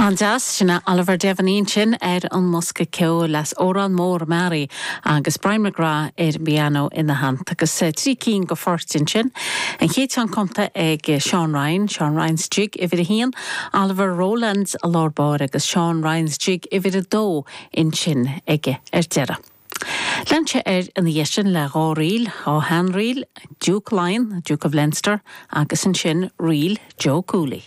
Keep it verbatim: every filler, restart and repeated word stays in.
An-deas sin é Oliver Devaney sin ar an mbosca ceoil as Órán Mór Mearaí agus Brian McGrath ar piano ina theannta agus trí cinn de phoirt ansin. An chéad cheann cumtha ag Sean Ryan, Sean Ryan's Jig uimhir a haon, Oliver Rowlands i lár báire agus Sean Ryan's Jig uimhir a dó ansin aige ar deireadh. Lean sé air ina dhiaidh sin le dhá ríl, dhá sheanríl, Duke Line, Duke of Leinster, agus ansin ríl Joe Cooley.